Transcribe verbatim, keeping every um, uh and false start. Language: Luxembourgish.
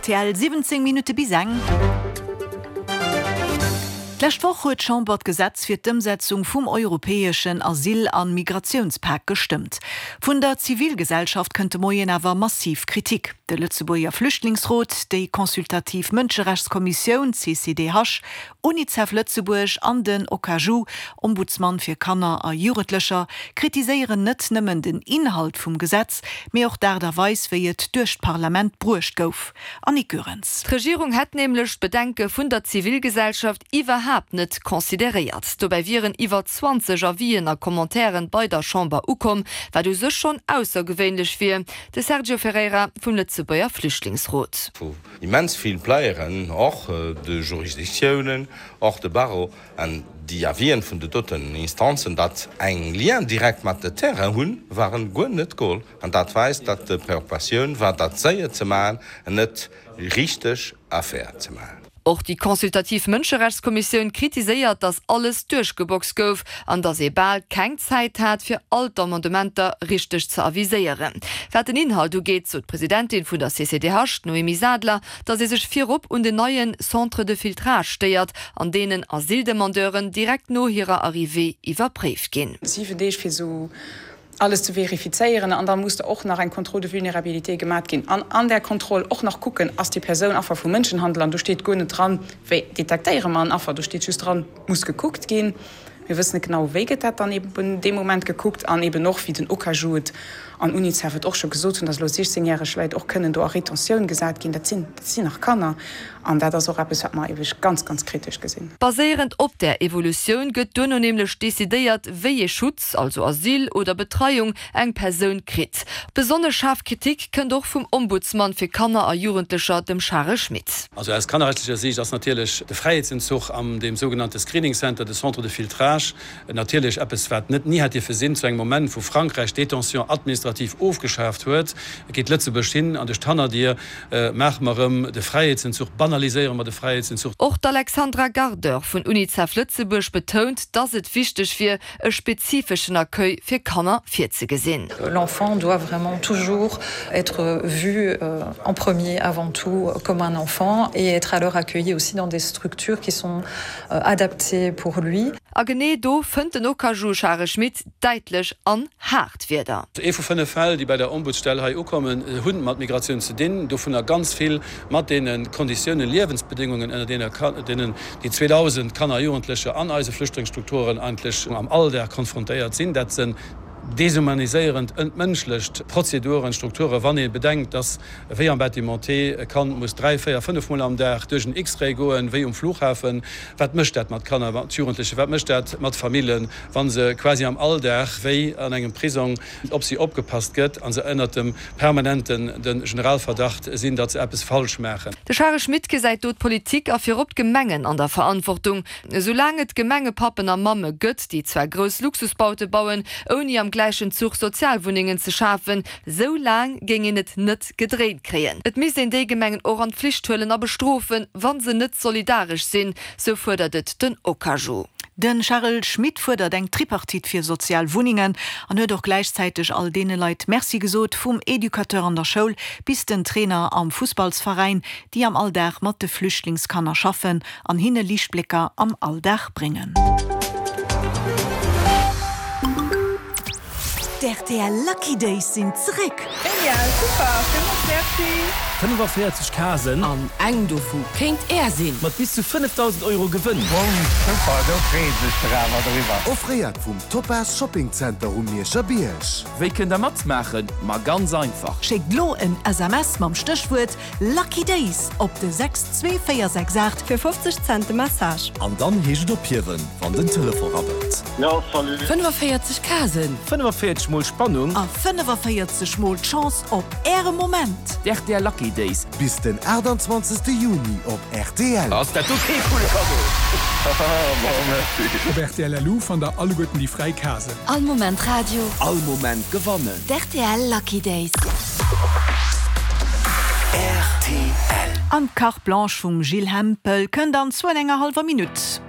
Rtl, siwwenzéng Minutte bis eng. D'lescht Woch huet d'Chamber d'Gesetz fir d'Ëmsetzung vum europäeschen Asyl a Migratiounspak gestëmmt. Vun der Zivilgesellschaft kënnt de Moien awer massiv Kritik. De Lëtzebuerger Flüchtlingsrot, déi consultativ Mënscherechtskommissioun, C C D H, Unicef Lëtzebuerg an den OKAJU, Ombudsman fir Kanner a Jugendlecher, kritiséieren net nëmmen den Inhalt vum Gesetz, mee och d'Aart a Weis, wéi et duerch d'Parlament bruecht gouf. Annick Goerens. D'Regierung hätt nämlech d'Bedenke vun der Zivilgesellschaft iwwerhaapt net consideréiert. Dobäi wieren iwwer zwanzeg Avisen a Commentairen bei der Chamber ukomm, wat u sech schonn aussergewéinlech wier. De Sergio Ferreira vum Lëtzebuerger Flüchtlingsrot. Wou immens vill Playeren, och de Jurisdictiounen, och de Barreau an déi Avisen vun de doten Instanzen, dat eng Lien direkt mat de Terrain hunn, waren guer net geholl. An dat weist, dat de Preoccupatioun war, dat séier ze maachen an net richteg Affaire ze maachen. Och déi consultativ Mënscherechtskommissioun kritiséiert, datt alles duerchgeboxt gouf an datt ee bal keng Zäit hat, fir all d'Amendementer richteg ze aviséieren. Wat den Inhalt ugeet, sot d'Presidentin vun der C C D H, d'Noémie Sadler, datt ee sech virop un den neie Centres de filtrage stéiert, an deenen Asyldemandeuren direkt no hirer Arrivée iwwerpréift ginn. Siwen Deeg fir sou alles ze verifizéieren an da muss och nach eng Contrôle de vulnérabilité gemat ginn. An an der Kontroll och nach kucken, ass déi Persoun Affer vu Mënschenhandel, an do steet guer net dran, wéi detektéiere mer en Affer, do steet just dran, muss gekuckt ginn. Mir wëssen net genau, wéi gëtt dat dann eben dee Moment gekuckt an eben och, wéi den OKAJU et an UNICEF et och scho gesot hunn, datt elo siechzéngjäreg Leit och kënnen do a Retentioun gesat ginn. Dat sinn, dat sinn nach Kanner an dat ass och eppes, wat mer ebe ganz, ganz kritesch gesinn. Baséierend op där Evolutioun gëtt duerno nämlech decidéiert, wéi ee Schutz, also Asyl oder Betreiung, eng Persoun kritt. Besonnesch schaarf Kritik kënnt och vum Ombudsman fir Kanner a Jugendlecher, dem Charel Schmit. Also aus kannerrechtlecher Siicht ass natierlech de Fräiheetsentzuch am deem sougenannte Screening Center, de Centre de filtrage, natierlech eppes, wat net ni hätt dierfe sinn. Zu engem Moment, wou Frankräich d'Détention administrative ofgeschaaft huet, geet Lëtzebuerg hin an duerch d'Hannerdier maache mer erëm de Fräiheetsentzuch, banaliséiere mer de Fräiheetsentzuch. Och d'Alexandra Gardeur vun UNICEF Lëtzebuerg betount, dass et wichteg wier, e spezifeschen Accueil fir Kanner virzegesinn. L'enfant doit vraiment toujours être vu en premier, avant tout, comme un enfant et être alors accueilli aussi dans des structures qui sont adaptées pour lui. A genee do fënnt den OKAJU Charel Schmit däitlech an haart Wierder. Ee vu fënnef Fäll, déi bei der Ombudsstell hei ukommen, hu mat Migratioun ze dinn, dovunner ganz vill mat deene Konditiounen, Liewensbedéngungen, ënner deenen déi zweedausend Kanner a Jugendlecher an eise Flüchtlingsstrukturen eigentlech am Alldag konfrontéiert sinn. Dat sinn deshumaniséierend, entmënschlecht Prozeduren, Strukturen, wann ee bedenkt, dass wéi am Bâtiment T e Kand muss dräi, véier, fënnef Mol am Dag duerch en X-Ray goen, wéi um Flughafen. Wat mécht dat mat Kanner, mat Jugendlechen, wat mécht dat mat Famillen, wa se quasi am Alldag wéi an engem Prisong op si opgepasst gëtt a se ënnert dem permanenten de Generalverdacht sinn, datt se eppes falsch maachen. De Charel Schmit gesäit do d'Politik a virop d'Gemengen an der Verantwortung. Esou laang et Gemengepappen a mamme gëtt, déi zwar grouss Luxusbaute bauen, ouni am gläichen Zuch Sozialwunnengen ze schafen, sou laang géing een et net gedréint kréien. Et misst een déi Gemengen och an d'Flicht huelen a bestrofen, wa se net solidaresch sinn, sou fuerdert et den OKAJU. De Charel Schmit fuerdert eng Tripartite fir sozial Wunnengen an huet och gläichzäiteg all deene Leit Merci gesot, vum Educateur an der Schoul bis den Trainer am Fussballsveräin, déi am Alldag mat de Flüchtlingskanner schaffen an hinne Liichtblécker am Alldag bréngen. D' R T L Lucky Days sinn zréck! Genial, super, villmools merci! fënnefaféierzeg Casen. An eng dovu kéint Är sinn! Mat bis zu fënnefdausend Euro Gewënn. Super, do freeë sech der awer driwwer. Offréiert vum Topaz Shopping Center um Mierscher Bierg. Wéi kënnt der matmaachen? Ma ganz einfach. Schéckt lo en S M S mam Stéchwuert Lucky Days op de sechs zwee véier sechs aacht. Fir fofzeg Cent de Message. An dann heescht et ophiewen, wann den Telefon rabbelt. Jo, salut. fënnefaféierzeg Casen. fënnefaféierzeg mol Spannung. A fënnefaféierzeg mol d'Chance op äre Moment. D' R T L Lucky Days. Bis den aachtanzwanzegste Juni op R T L. Ass dat do kee coole Cadeau? Haha, bon, merci. Op R T L L U fannt der alleguerten déi fräi Casen. All Moment Radio. All Moment gewannen. D' R T L Lucky Days. R T L. An d'Carte Blanche vum Gilles Hempel kënnt an zwou an enger hallwer Minutt.